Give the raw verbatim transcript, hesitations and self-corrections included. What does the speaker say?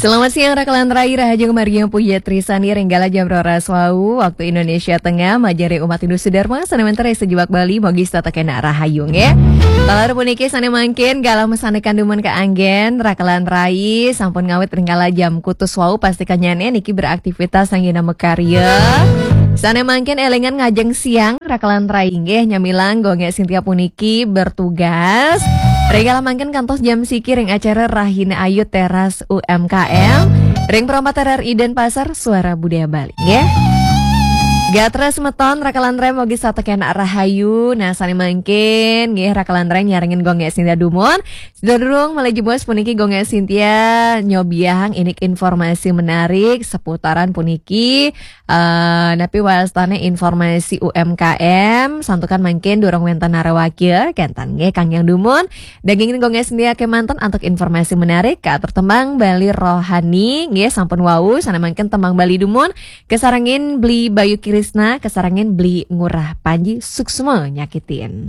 Selamat siang, Rakalan Rai, Rahayu Maria Puja Trisani, ring galah jam roras wau, waktu Indonesia Tengah, majeng ring umat Hindu sedharma, sané wénten ring sajebag Bali, mogi setata kénak rahayu, nggih. Taler puniki sané mangkin, galah masandekan dumun kaanggén, Rakalan Rai, sampun ngawit ring galah jam kutus wau, pastikannyané niki beraktivitas anggéna makarya. Sané mangkin élingan ngajeng siang, Rakalan Rai, nggih, nyamilang Gung Gék Sintia puniki bertugas. Ring galah mangkin kantos jam siki ring acara Rahina Ayu Teras U M K M. Ring Perompat R R I Denpasar, Suara Budaya Bali, nggih. Gatra semeton, Rakalan Rai, mogi setata kénak rahayu. Nah, sané mangkin, nggih, Rakalan Rai nyarengin Gung Gék Sintia dumun. Sedurung malih jebos puniki Gung Gék Sintia nyobiahang indik informasi menarik seputaran puniki. Eh, napi wastané informasi U M K M, santukan mangkin durung wénten narawakya, kénten nggih kangge dumun. Dagingin Gung Gék Sintia kémanten antuk informasi menarik, katur tembang Bali Rohani, nggih sampun wau, sané mangkin tembang Bali dumun, kasarengin Beli Bayu Krisna, kasarengin Beli Ngurah Panji Suksma nyakitin.